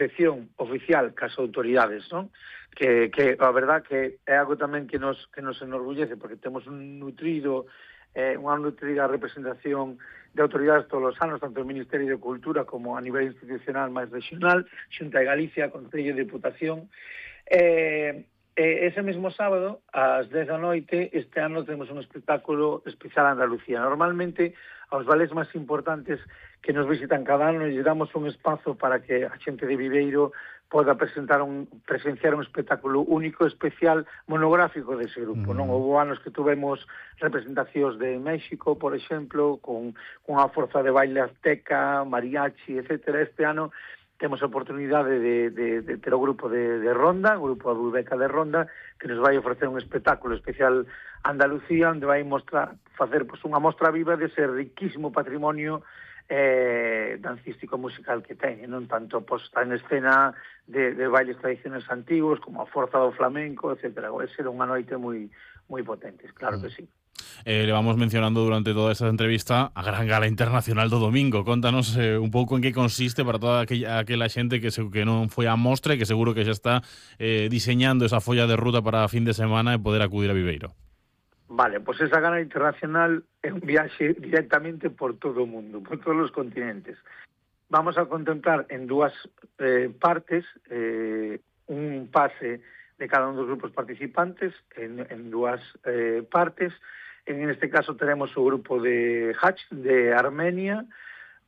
dirección oficial cas autoridades, non? Que a verdad que é algo tamén que nos enorgullece, porque temos unha nutrida representación de autoridades todos os anos, tanto o Ministerio de Cultura como a nivel institucional máis regional, Xunta de Galicia, Concello de Diputación. Ese mesmo sábado, ás 10 da noite, este ano temos un espectáculo especial a Andalucía. Normalmente, aos vales máis importantes que nos visitan cada ano, lle damos un espazo para que a xente de Viveiro poda presenciar un espectáculo único, especial, monográfico dese grupo, non? Houve anos que tuvemos representacións de México, por exemplo, con unha forza de baile azteca, mariachi, etc. Este ano temos a oportunidade de ter o grupo de Ronda, o grupo Abubeca de Ronda, que nos vai ofrecer un espectáculo especial a Andalucía, onde vai facer unha mostra viva dese riquísimo patrimonio dancístico musical que ten, non tanto posta en escena de bailes tradicionais antigos como a forza do flamenco, etc. Vai ser unha noite moi potente, claro que sí. Le vamos mencionando durante toda esta entrevista a Gran Gala Internacional do domingo. Contanos un pouco en que consiste para toda aquela xente que non foi á mostra e que seguro que xa está diseñando esa folla de ruta para a fin de semana e poder acudir a Viveiro. Vale, pois esa Gala Internacional é un viaxe directamente por todo o mundo, por todos os continentes. Vamos a contemplar en dúas partes un pase de cada un dos grupos participantes en dúas partes. En este caso teremos o grupo de Hach de Armenia,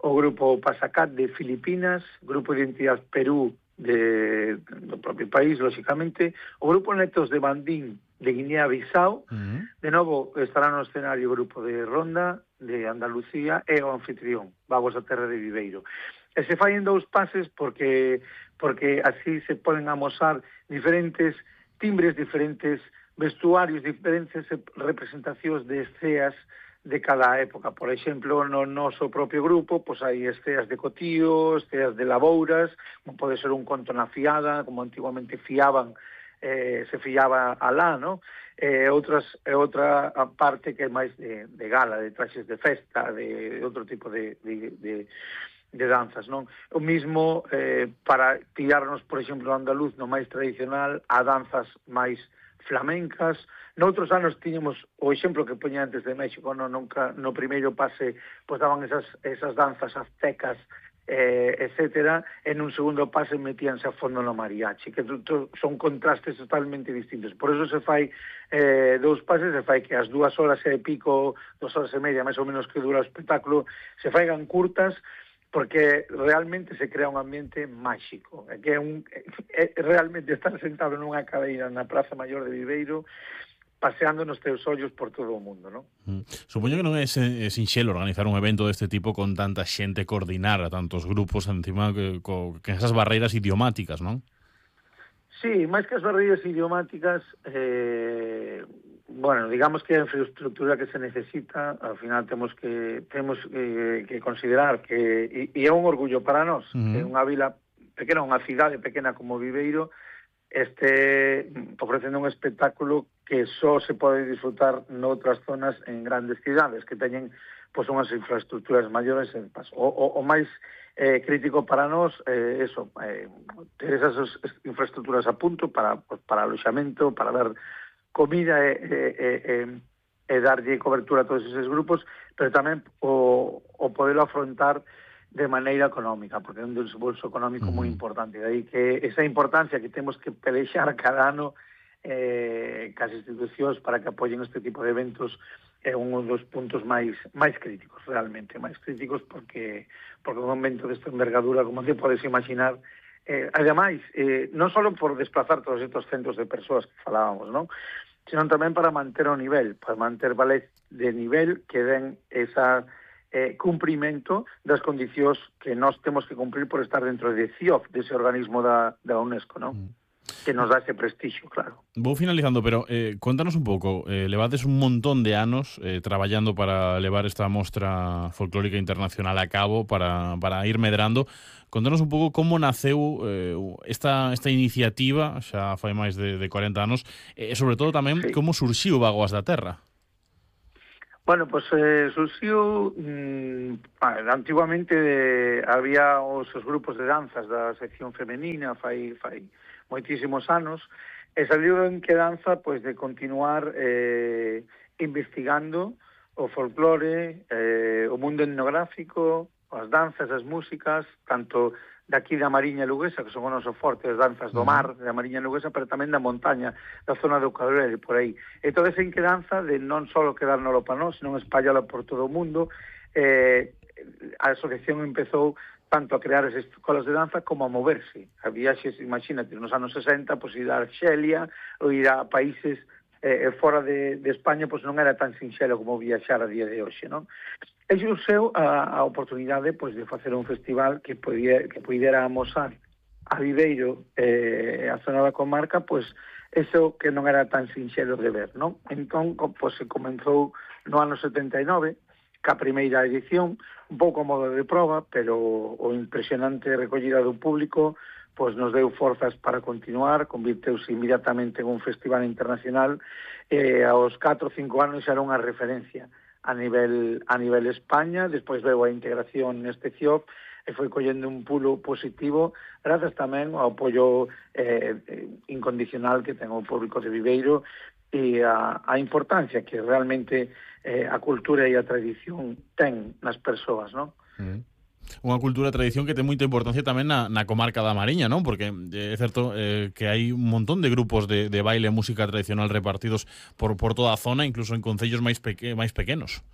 o grupo Pasacat de Filipinas, grupo de Identidad Perú do propio país, lógicamente, o grupo Netos de Bandín de Guinea-Bissau. De novo estará no escenario o grupo de Ronda de Andalucía e o anfitrión Vagos da Terra de Viveiro. E se fai en dous pases porque así se poden amosar diferentes timbres, diferentes vestuarios, diferentes representacións de esceas de cada época. Por exemplo, no noso propio grupo, pois hai esceas de cotío, esceas de labouras, como pode ser un conto na fiada, como antiguamente se fiaba alá, non? Outra parte que é máis de gala, de traxes de festa, de outro tipo de danzas, non? O mismo para tirarnos, por exemplo, andaluz no máis tradicional, a danzas máis flamencas. Noutros anos tiñamos o exemplo que poña antes de México, no primeiro pase pois daban esas danzas aztecas, etcétera, en un segundo pase metíanse a fondo no mariachi, que son contrastes totalmente distintos. Por eso se fai dous pases, se fai que as 2 horas e pico, 2 horas e media, máis ou menos que dura o espectáculo, se faigan curtas, porque realmente se crea un ambiente máxico, que realmente estar sentado nunha cadeira na Praza Maior de Viveiro, paseando nos teus ollos por todo o mundo, non? Supoño que non é sinxelo organizar un evento deste tipo con tanta xente, coordinar a tantos grupos encima que esas barreiras idiomáticas, non? Sí, máis que as barreiras idiomáticas, digamos que a infraestructura que se necesita, ao final temos que considerar que, e é un orgullo para nós, que unha vila pequena, unha cidade pequena como Viveiro, este ofrecendo un espectáculo que só se pode disfrutar noutras zonas en grandes cidades que teñen pois unhas infraestructuras maiores. O máis crítico para nós ter esas infraestructuras a punto para aloxamento, para dar comida e darlle cobertura a todos esos grupos, pero tamén o poderlo afrontar de maneira económica, porque é un desembolso económico moi importante. De aí que esa importancia que temos que pelexar cada ano cas institucións para que apoyen este tipo de eventos é un dos puntos máis críticos, realmente, máis críticos, porque un evento desta envergadura, como te podes imaginar, ademais, non só por desplazar todos estes centros de persoas que falábamos, non? Sino tamén para manter o nivel, para manter valés de nivel que den esa cumprimento das condicións que nós temos que cumprir por estar dentro de CIOF, dese organismo da UNESCO, non? Que nos dá ese prestixio, claro. Vou finalizando, pero contanos un pouco, levades un montón de anos traballando para levar esta mostra folclórica internacional a cabo, para ir medrando. Contanos un pouco como naceu esta iniciativa, xa fai máis de 40 anos, e sobre todo tamén como surxiu Vagoas da Terra. Bueno, pues surxiu antiguamente había os grupos de danzas da sección femenina fai moitísimos anos e saliu en que danza pois de continuar investigando o folclore, o mundo etnográfico, as danzas, as músicas, tanto daqui da Mariña Luguesa, que son o noso forte, as danzas do mar, da Mariña Luguesa, pero tamén da montaña, da zona do Cabrera, por aí. E toda esa inquedanza de non só quedárnoslo para nós, senón espallalo por todo o mundo, a asociación empezou tanto a crear as escolas de danza como a moverse. A viaxes, imagínate, nos anos 60, pois ir a Arxelia ou ir a países fora de España, pois non era tan sinxelo como viaxar a día de hoxe, non? E xurxeu a oportunidade pois, de facer un festival que puidera amosar a Viveiro a zona da comarca, pois eso que non era tan sinxelo de ver, non? Entón, pois, se comenzou no ano 79, ca primeira edición, un pouco a modo de prova, pero o impresionante recollida do público pois nos deu forzas para continuar, convirteuse inmediatamente en un festival internacional e aos 4 ou 5 anos xa era unha referencia a nivel España, despois veu a integración neste CIOP e foi collendo un pulo positivo grazas tamén ao apoio incondicional que ten o público de Viveiro e a importancia que realmente a cultura e a tradición ten nas persoas, non? Unha cultura e tradición que ten moita importancia tamén na comarca da Mariña, non? Porque é certo que hai un montón de grupos de baile e música tradicional repartidos por toda a zona, incluso en concellos máis pequenos.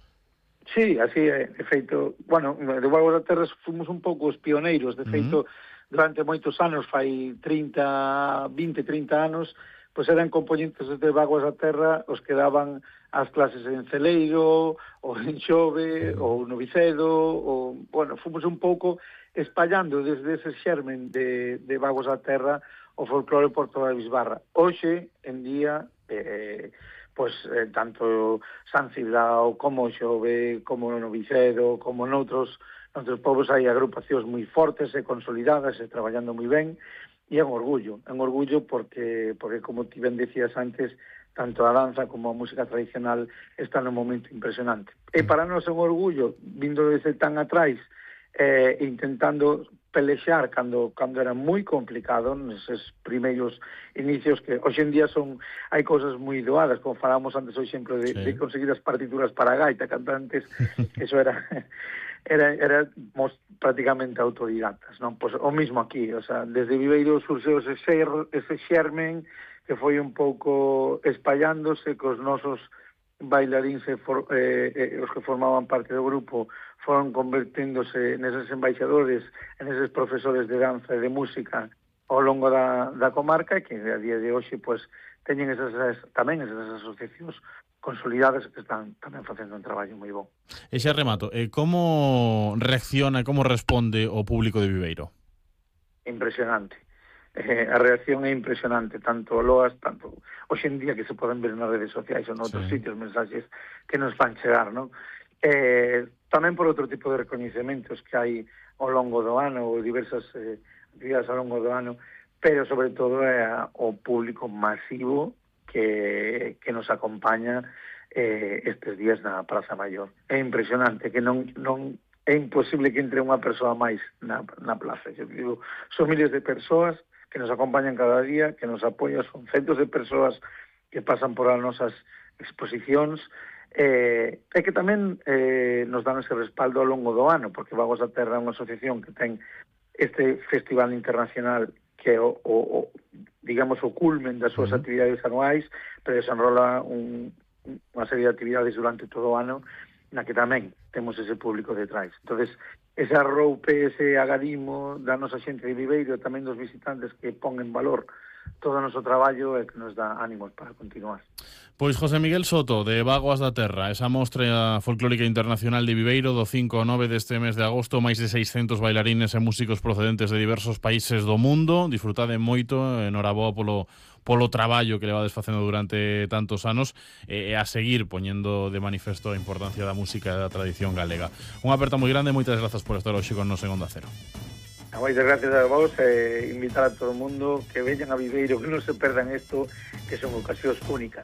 Sí, así é. De feito, bueno, de Bagos da Terra fomos un pouco os pioneiros. De feito, durante moitos anos, fai 30 anos, pois eran componentes de Bagos da Terra os que daban as clases en Celeiro, ou en Xove, ou no Vicedo, ou, bueno, fomos un pouco espallando desde ese xermen de Bagos da Terra o folclore por toda a Bisbarra. Hoxe, en día, pois tanto San Cibrao, como Xove, como no Vicedo, como noutros povos hai agrupacións moi fortes e consolidadas e traballando moi ben, e é un orgullo porque como ti ben decías antes, tanto a danza como a música tradicional está nun momento impresionante. E para nós é un orgullo, vindo desde tan atrás, intentando pelexar cando era moi complicado neses primeiros inicios que hoxe en día hai cousas moi doadas, como falamos antes o exemplo de conseguir as partituras para a gaita, cantantes, eso éramos prácticamente autodidactas, non? Pois o mismo aquí, o sea, desde Viveiro surxeu ese xermen que foi un pouco espallándose cos nosos bailaríns os que formaban parte do grupo foron converténdose neses embaixadores, neses profesores de danza e de música ao longo da comarca, que a día de hoxe pois, teñen tamén esas asociacións consolidadas que están tamén facendo un traballo moi bon. E xa remato, como reacciona, como responde o público de Viveiro? Impresionante. A reacción é impresionante, tanto loas, tanto hoxe en día que se poden ver nas redes sociais ou noutros sitios, mensaxes que nos fan chegar, non? Tamén por outro tipo de recoñecementos que hai ao longo do ano ou diversas actividades ao longo do ano, pero sobre todo é o público masivo que nos acompaña estes días na Praza Maior. É impresionante que non é imposible que entre unha persoa máis na plaza. Eu digo, son miles de persoas que nos acompañan cada día, que nos apoian, son centos de persoas que pasan por as nosas exposicións, e que tamén nos dan ese respaldo ao longo do ano, porque Bagos da Terra é unha asociación que ten este festival internacional que é digamos, o culmen das súas actividades anuais, pero desenrola unha serie de actividades durante todo o ano na que tamén temos ese público detrás. Entonces, ese arroupe, ese agadimo da nosa xente de Viveiro e tamén dos visitantes que pon en valor todo o noso traballo e que nos dá ánimos para continuar. Pois José Miguel Soto, de Bagoas da Terra, esa mostra folclórica internacional de Viveiro do 5 ao 9 deste mes de agosto, máis de 600 bailarines e músicos procedentes de diversos países do mundo. Disfrutade moito, enhoraboa polo traballo que levades facendo durante tantos anos e a seguir poñendo de manifesto a importancia da música e da tradición galega. Unha aperta moi grande e moitas grazas por estar hoxe con nos en Onda Cero. Moitas gracias a vos e invitar a todo o mundo que veñan a Viveiro, que non se perdan isto, que son ocasións únicas.